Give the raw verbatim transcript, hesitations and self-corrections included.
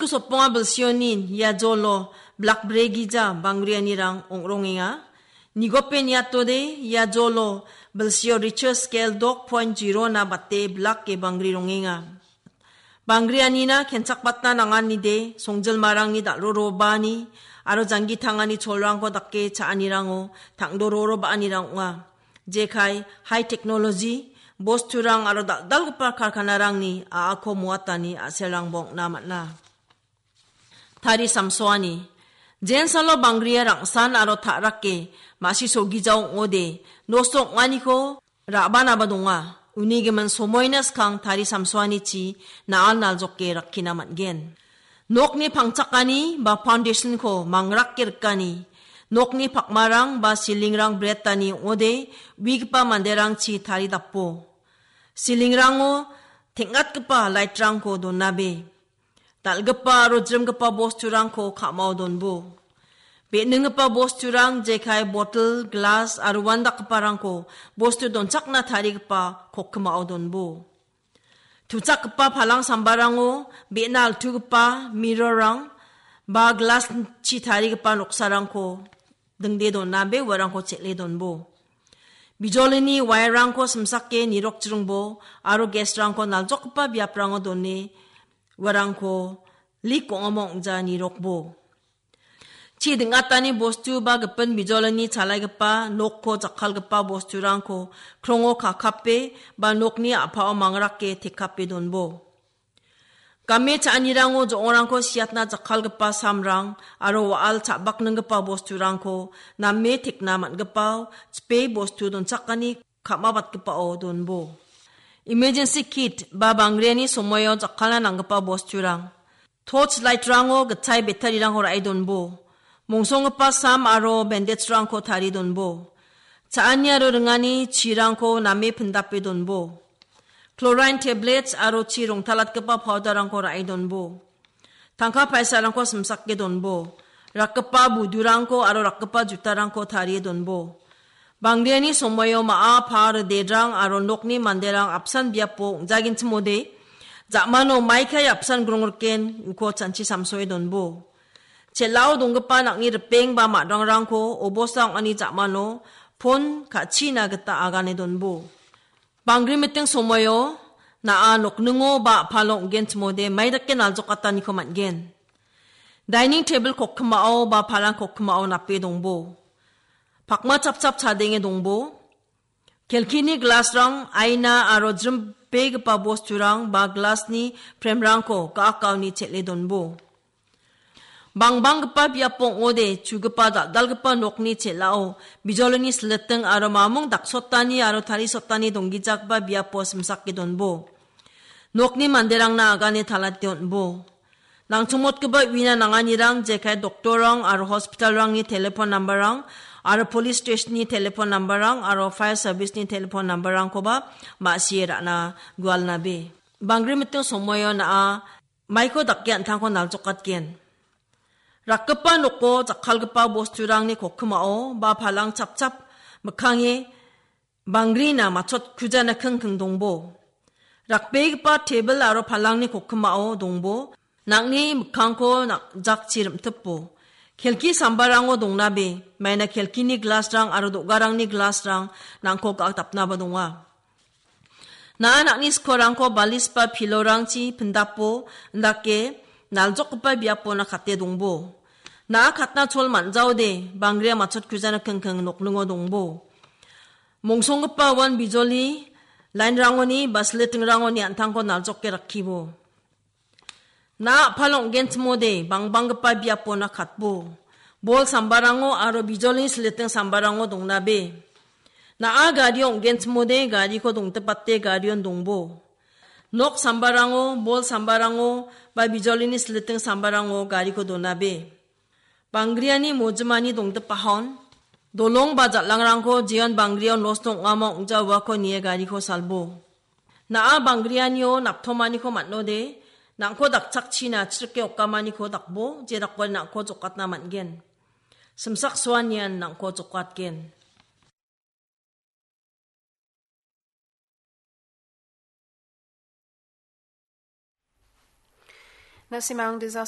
Soponga bilsionin ia jolo blak bregija bangrianirang ong·rongenga. Nigope niatode ia jolo bilsio Richter scale dok point zero na bate blak ge bangri rongenga. Bangrianina kenchakbatna nanganide songjilmarangni dal·rorobani aro janggi tangani cholrangko dake cha·anirango tangdororo ba·anirang ong·a. Jekai, high technology, bosturang aro dal·dalgipa karkanarangni a·ako moatani a·selrangba ong·na man·a. Tari samsoani. Jensalo bangria rangsan aro ta·rake ma·si solgijao ong·ode, nosto ong·aniko ra·banaba donga. Uni gimin somoina skang tari samsoanichi na·an naljoke rakkina man·gen. Nokni pangchakani ba foundation-ko mangrake rikani. Nokni pakmarang ba silingrang bretani ong·ode, uigipa manderangchi taridapo. Silingrango teng·atgipa light-rangko donabe. Dal·gipa aro jrimgipa bosturangko ka·mao donbo. Be·ninggipa bosturang jekai, botel, glas aro uandakgiparangko bostu donchakna tarigipa kokkimao donbo. Tuchakgipa palang sambarango be·na altugipa mirror-rang ba glas-chi tarigipa noksarangko dingde donabe uarangko chel·e donbo. Bijolini wire-rangko simsake nirokjringbo aro gas-rangko naljokgipa biaprango done uarangko lik ong·amo ong·ja nirokbo. Chi ding·atani bostu ba gipin bijolini chalaigipa nokko jakkalgipa bosturangko krongo kakape ba nokni a·pao mangrake tekape donbo. Game cha·anirango jo·ongrangko siatna jakkalgipa samrang aro wa·al cha·bakninggipa bosturangko name tekna man·gipao chipe bostu donchakani ka·mabatgipao donbo. Emergency kit ba bangriani somoio jakkalna nanggipa bosturang. Torch light-rango gitchai battery-rangko ra·e donbo. Mongsonggipa sam aro bandage-rangko tarie donbo. Cha·ani aro ringani chirangko name pindape donbo. Chlorine tablets aro chi rongtalatgipa powder-rangko ra·e donbo. Tangka paisarangko simsake donbo. Rakgipa budurangko aro rakgipa jutarangko tarie donbo. Bangriani somoio ma·a par dedrang aro nokni manderang apsan biapo ong·jagenchimode, ja·mano maikai apsan grongriken uko chanchi samsoe donbo. Chel·ao donggipa nang·ni ripeng ba ma·dranggrangko obosta ong·ani ja·mano pon ka·china gita agane donbo. Bangri miting somoio na·a nokningo ba a·palo ong·genchimode maidake naljokataniko man·gen. Dining tebil kokkimao ba palang kokkimao nape dongbo. Pakma chapchap chadenge dongbo. Kelkini glasrang, aina aro jrimbegipa bosturang ba glasni premrangko ga·akgaoni chel·e donbo. Bangbanggipa biapo ong·ode, chugipa dal·dalgipa nokni chel·ao bijolini siliting aro mamung daksotani aro tarisottani donggijagipa biapo simsake donbo. Nokni manderangna agane talate on·bo. Nangchongmotgipa uina nanganirang jekai doktorrang aro hospitalrangni telefon nambarrang aro polis stesonni telefon nambarrang aro fair serviceni telefon nambarrangkoba ma·sie ra·na gualnabe. Bangri miting somoio na·a maiko dake an·tangko naljokatgen. Rakgipa noko jakkalgipa bosturangni kokkimao ba palang chapchap mikkange bangrina matchotkujana kingking dongbo. Rakbegipa tebil aro palangni kokkimao dongbo. Nang·ni mikkangko na-, jakchi rim·tipo. Kelki sambarango dongnabe, maina kelkini glasrang aro do·garangni glasrang nangko ga·akdapnaba donga. Na·a nang·ni skorrangko balis ba pilorangchi pindapo, indake naljokgipa biapona kate dongbo. Na·a katna chol man·jaode, bangria matchotkujana kingking nokningo dongbo. Mongsonggipa uan bijoli lainrangoni ba silitingrangoni an·tangko naljoke rakkibo. Na·a a·palo ong·genchimode bangbanggipa biapona katbo. Bol sambarango aro bijolini siliting sambarango dongnabe. Na·a gario ong·genchimode gariko dongtipate garion dongbo. Nok sambarango, bol sambarango ba bijolini siliting sambarango gariko donabe. Bangriani mojimani dongdipahon, dolong ba jal·angrangko jeon bangrio nosto ong·amo ong·ja uako nie gariko salbo. Na·a bangrianio naptomaniko man·ode, nang·ko dakchakchina chrike okamaniko dakbo, jedakode nang·ko jokatna man·gen. Simsak soanian nang·ko jokatgen. Na simang dizas